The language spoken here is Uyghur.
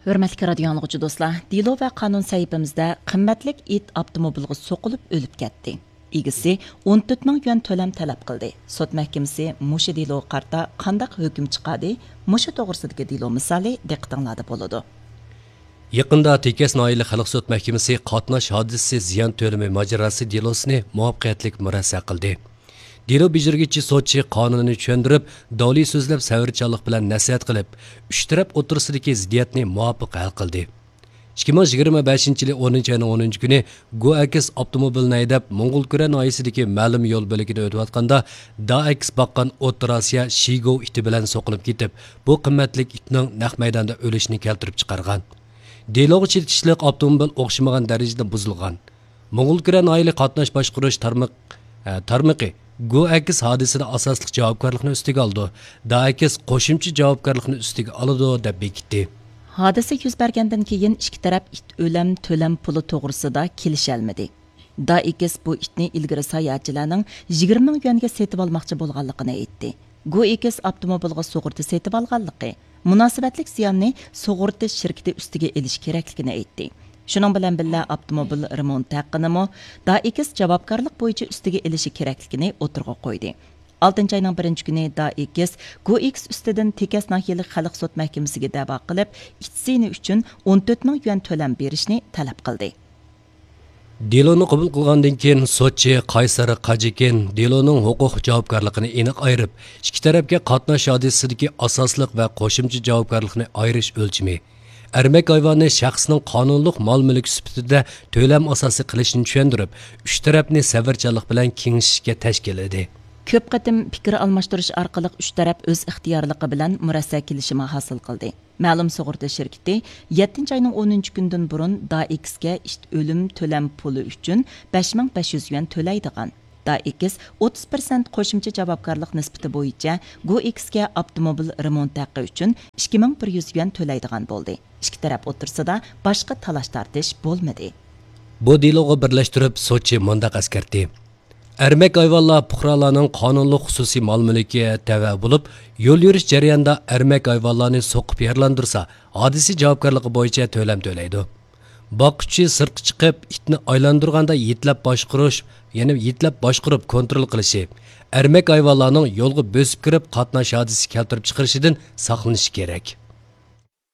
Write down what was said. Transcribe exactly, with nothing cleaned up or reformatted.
ھۆرمەتلىك رادىيو ئاڭلىغۇچى دوستلار، دېلو ۋە قانۇن سەھىپىمىزدە قىممەتلىك ئىت ئاپتوموبىلغا سوقۇلۇپ ئۆلۈپ كەتتى. ئىگىسى ئون تۆت مىڭ يۈەن تۆلەم تەلەپ قىلدى. سوت مەھكىمىسى مۇشۇ دېلوغا قارىتا قانداق ھۆكۈم چىقاردى؟ مۇشۇ توغرىسىدىكى دېلو مىسالى دىققىتىڭلاردا بولىدۇ. يېقىندا تېكەس ناھىيەلىك خەلق سوت مەھكىمىسى قاتناش ھادىسىسى زىيان تۆلىمى ماجىراسى دېلوسىنى مۇۋەپپەقىيەتلىك مۇرەسسە قىلدى. دېلو بېجىرگۈچى سوتچى قانۇننى چۈشەندۈرۈپ، دولى سۆزلەپ سەۋرچانلىق بىلەن نەسىھەت قىلىپ، ئۈچ تەرەپ ئوتتۇرىسىدىكى زىددىيەتنى مۇۋاپىق ھەل قىلدى. ئىككى مىڭ يىگىرمە بەشىنچى يىلى ئونىنچى ئاينىڭ ئونىنچى كۈنى گو ئەكس ئاپتوموبىلىنى ھەيدەپ، موڭغۇلكۈرە ناھىيەسىدىكى مەلۇم يول بۆلىكىدە ئۆتۈۋاتقاندا، دا ئەكس باققان ئوتتۇرا ئاسىيا شىگو ئىتى بىلەن سوقۇلۇپ كېتىپ، بۇ قىممەتلىك ئىتنىڭ نەق مەيداندا ئۆلۈشىنى كەلتۈرۈپ چىقارغان. دېلوغا چېتىشلىق ئاپتوموبىل ئوخشىمىغان دەرىجىدە بۇزۇلغان. موڭغۇلكۈرە ناھىيەلىك قاتناش باشقۇرۇش تارمىق، ئە، تارمىقى گو ئەكس ھادىسىدە ئاساسلىق جاۋابكارلىقنى ئۈستىگە ئالىدۇ، دا ئەكس قوشۇمچە جاۋابكارلىقنى ئۈستىگە ئالىدۇ، دەپ بېكىتتى. ھادىسە يۈز بەرگەندىن كېيىن ئىككى تەرەپ ئىت ئۆلەم تۆلەم پۇلى توغرىسىدا كېلىشەلمىدى. دا ئېكس بۇ ئىتنى ئىلگىرى ساياھەتچىلەرنىڭ يىگىرمە مىڭ يۈەنگە سېتىۋالماقچى بولغانلىقىنى ئېيتتى. گو ئېكس ئاپتوموبىلغا سۇغۇرتا سېتىۋالغانلىقى، مۇناسىۋەتلىك زىياننى سۇغۇرتا شىركىتى ئۈستىگە ئېلىش كېرەكلىكىنى ئېيتتى. شۇنىڭ بىلەن بىللە، ئاپتوموبىل رېمونت ھەققىنىمۇ دا ئېكس جاۋابكارلىق بويىچە ئۈستىگە ئېلىشى كېرەكلىكىنى ئوتتۇرىغا قويدى. ئالتىنچى ئاينىڭ بىرىنچى كۈنى دا ئېكس گو ئېكس ئۈستىدىن تېكەس ناھىيەلىك خەلق سوت مەھكىمىسىگە دەۋا قىلىپ، ئىت زىيىنى ئۈچۈن ئون تۆت مىڭ يۈەن تۆلەم بېرىشنى تەلەپ قىلدى. دېلونى قوبۇل قىلغاندىن كېيىن، سوتچى قايسار قاجىكىن دېلونىڭ ھوقۇق جاۋابكارلىقىنى ئېنىق ئايرىپ، ئىككى تەرەپكە قاتناش ھادىسىسىدىكى ئاساسلىق ۋە قوشۇمچە جاۋابكارلىقنى ئايرىش ئۆلچىمى، ئەرمەك ھايۋاننى شەخسنىڭ قانۇنلۇق مال-مۈلكى سۈپىتىدە تۆلەم ئاساسى قىلىشنى چۈشەندۈرۈپ، ئۈچ تەرەپنى سەۋرچانلىق بىلەن كېڭىشىشكە تەشكىللىدى. كۆپ قېتىم پىكىر ئالماشتۇرۇش ئارقىلىق ئۈچ تەرەپ ئۆز ئىختىيارلىقى بىلەن مۇرەسسە كېلىشىمى ھاسىل قىلدى. مەلۇم سۇغۇرتا شىركىتى يەتتىنچى ئاينىڭ ئونىنچى كۈنىدىن بۇرۇن دا ئېكسكە ئىت ئۆلۈم تۆلەم پۇلى ئۈچۈن بەش مىڭ بەش يۈز يۈەن تۆلەيدىغان. دا ئېكس ئوتتۇز پىرسەنت قوشۇمچە جاۋابكارلىق نىسبىتى بويىچە گو ئېكسكە ئاپتوموبىل رېمونت ھەققى ئۈچۈن ئىككى مىڭ بىر يۈز يۈەن تۆلەيدىغان بولدى. ئىككى تەرەپ ئوتتۇرىسىدا باشقا تالاش-تارتىش بولمىدى. بۇ دېلوغا بىرلەشتۈرۈپ، سوتچى مۇنداق ئەسكەرتتى. ئەرمەك ھايۋانلار پۇقرالارنىڭ قانۇنلۇق خۇسۇسىي مال-مۈلكىگە تەۋە بولۇپ، يول يۈرۈش جەريانىدا ئەرمەك ھايۋانلارنى سوقۇپ يارىلاندۇرسا، ھادىسە جاۋابكارلىقى بويىچە تۆلەم تۆلەيدۇ. باققۇچى سىرتقا چىقىپ، ئىتنى ئايلاندۇرغاندا يېتىلەپ باشقۇرۇش، يەنى يېتىلەپ باشقۇرۇپ كونترول قىلىشى، ئەرمەك ھايۋانلارنىڭ يولغا بۆسۈپ كىرىپ قاتناش ھادىسىسى كەلتۈرۈپ چىقىرىشىدىن ساقلىنىشى كېرەك.